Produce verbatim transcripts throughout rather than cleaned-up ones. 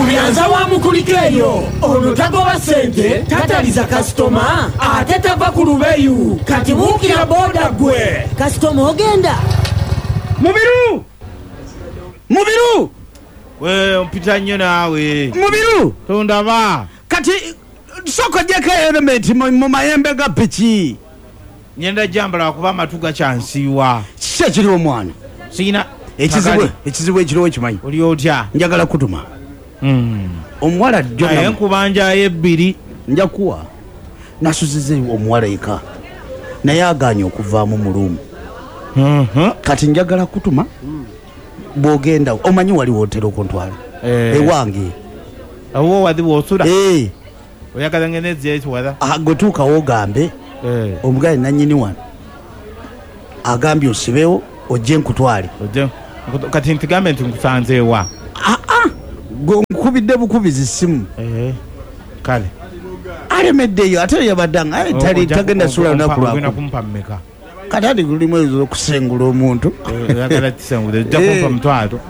Byanza wa mukuliko eyo. Ono tagoba ssente, tataliza kasitoma, ate tava ku lubeyu. Kati buukira booda gwe. Kasitoma ogenda. Mubiru! Mubiru! We, ompita nnyo naawe. Mubiru! Tondaba. Kati sooka oggyeko helmet mu mayembe ga piki. Ngenda jambala kuba amatu gakyansiiwa. Kiki ekiriwo omwana? Sirina. Ekizibu ekizibu ekiriwo kimanyi. Oli otya? Njagala kutuma. Mm. Omuwala jjo naye nkubanjayo ebbiri. Nja kuwa. Nasuziza omuwala eka. Naye agaanye okuvaamu mu luumu. Mm-hmm. Kati njagala kutuma bw'ogenda omanyi wali wootera okuntwala. Eh. Ewange. Awo wadi wosula. Eh. Oyagala ngende ekiwala. Ah, gwe tuukawo ogambe. Eh. Omugaye nannyini wano agambye osibewo ojje nkutwale. Ojje. Kati ntigambe nti nkusanze wa. Ah ah. Gwe nkubidde bukubizi simu. Eh. Kale. Alemeddeyo ate yabadde nga aye tali tagenda sula lunaku lwako. Ogenda kumpa mmeka? Kati ati lulimu okusengula omuntu. Oyagala kisengule ojja kumpa mutwalo.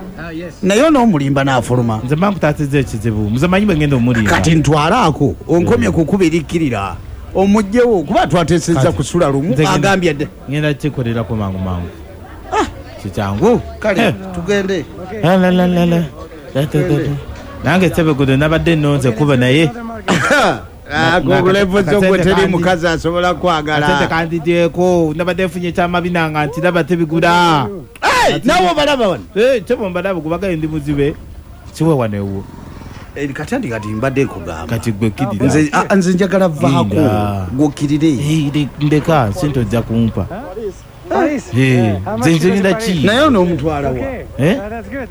Naye onoomulimba n'afuluma. Nze mba nkutaasizza ekizibu. Nze manyi bwe ngenda omulimba. Kati ntwalaako onkomye ku kubirikkirira. Omugyewo kuba twateesezza kusula lumu agambye dde. Ngenda kikolerako mangu mangu. Ah, kikyangu. Kale tugende. La la la la la. Nange Sebegudo nabadde nnonze kuba naye. Agolevo zogwe teri mukazi asobola kwagala. Ate kandidyeko nabadde nfunye ekyamabina nga nti laba tebigula. Hey, nawe obalaba wano. Eh, tebo mbalaba kubaga ndi muzibe. Siwe wano ewuwo. Eh, kati andi kati mbadde nkugamba. Kati gwe kkirira. Nze nze njagala vaako gw'okkirire. Eh, ndeka sente ojja kumpa. Eh, nze nze ngenda ki? Naye ono omutwala wa? Eh?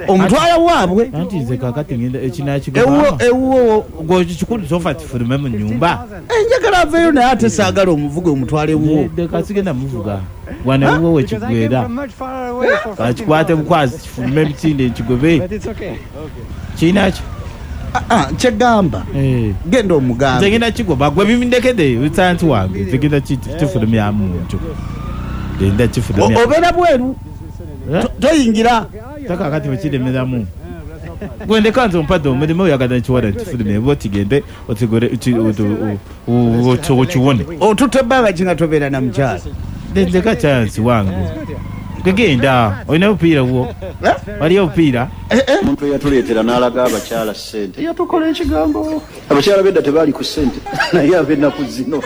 Omutwala waabwe? Anti nze kaakati ngenda ekinaakigoba. Ewuwo ewuwo gwe kikulu sofa kifulume mu nnyumba. Eh, njagala aveeyo naye ate saagala omuvuge omutwale ewuwo. Ndeka sigenda muvuga. Wano ewuwo we kigwera. Kakikwate bukwasi kifulume emisinde nkigobe. Kirinaki? Ah, kyegamba. Genda omugambe. Nze ngenda kigoba gwe bibindekedde lutanti wange. Nze ngenda kifulumyamu ntyo. Genda kifulumya. Obeera bweru. Toyingira. Taka kati bwekiremeramu. Gwe ndeka nze ompadde omulimu oyagala nkiwala nkifulumye oba otigende otigore okiwone. Otutte ebbanga ki nga tobeera na mukyala? Ndeka chance wange. Genda olina obupiira bwo. Waliyo obupiira? Omuntu eyatuleetera n'alaga abakyala ssente yatukola ekigambo. Abakyala b'edda tebaali ku ssente naye ab'ennaku zino.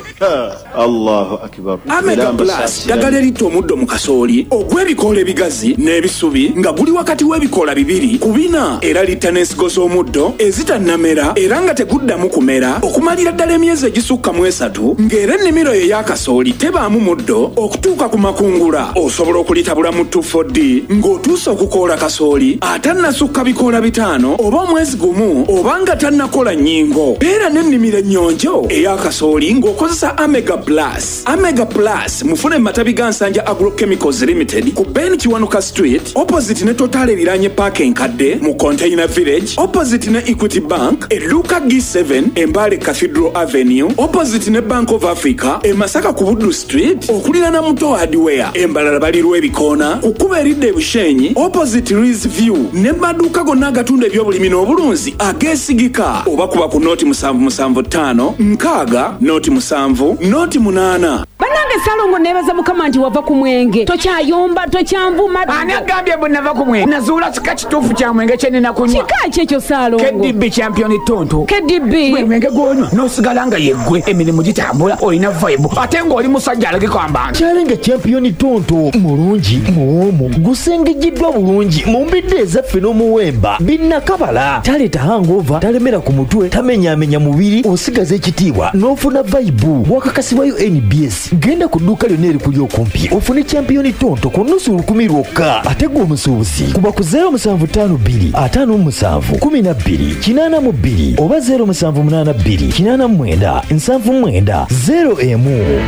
Allahu akbar. Amega Plus ddagala eritta omuddo mu kasooli ogw'ebikoola ebigazi n'ebisubi nga guli wakati w'ebikoola bibiri ku bina era litta n'ensigo z'omuddo ezitannamera era nga teguddamu kumera okumalira ddala emyezi egisukka mu esatu ng'era ennimiro yo ey'akasooli tebaamu muddo okutuuka ku makungula. Osobola okulitabula mu two four D ng'otuuse okukoola kasooli atannasukka bikoola bitaano oba omwezi gumu oba nga tannakola nnyingo. Beera n'ennimiro ennyonjo ey'akasooli ng'okozesa Amega Plus. Amega Plus mufune mu matabi ga Nsanja Agrochemicals Limited ku Ben Kiwanuka Street opposite ne Total eriraanye paaka enkadde mu Container Village opposite ne Equity Bank edduuka G seven Embale Cathedral Avenue opposite ne Bank of Africa e Masaka ku Buddu Street okuliraana Muto Hardware. Embalala balirwa ebikoona ku kkubo eridda e Bushenyi opposite Ridge View ne maduuka gonna agatunda ebyobulimi n'obulunzi ageesigika oba kuba ku nooti musanvu musanvu ttaano nkaaga nooti musanvu nooti munaana. Bannange Ssalongo neebaza Mukama nti wava ku mwenge. Tokyayomba, tokyanvuma. Ani agambye bwe nava ku mwenge? Nazuula kika kituufu kya mwenge kye nnina kunywa. Kika ki ekyo Ssalongo? K D B Champion Tonto. K D B? Gwe mwenge gw'onywa n'osigala nga yeggwe, emirimu gitambula, olina vibe ate ng'oli musajja alagika ambantu. Kyalenga Champion Tonto mulungi, muwoomu, gusengejjeddwa bulungi mu mbidde ezaffe n'omuwemba binnakabala. Taleeta hangover, talemera ku mutwe, tamenyaamenya mubiri, osigaza ekitiibwa n'ofuna vibe. Wakakasibwa U N B S. Genda ku dduuka lyonna erikuli okumpi ofune Champion Tonto ku nnusu lukumi lwokka. Ate gwe omusuubuzi kuba ku zero musanvu ttaano bbiri ataano mu musanvu kumi na bbiri kinaana mu bbiri oba zero musanvu munaana bbiri kinaana mu mwenda nsanvu mu mwenda zero emu.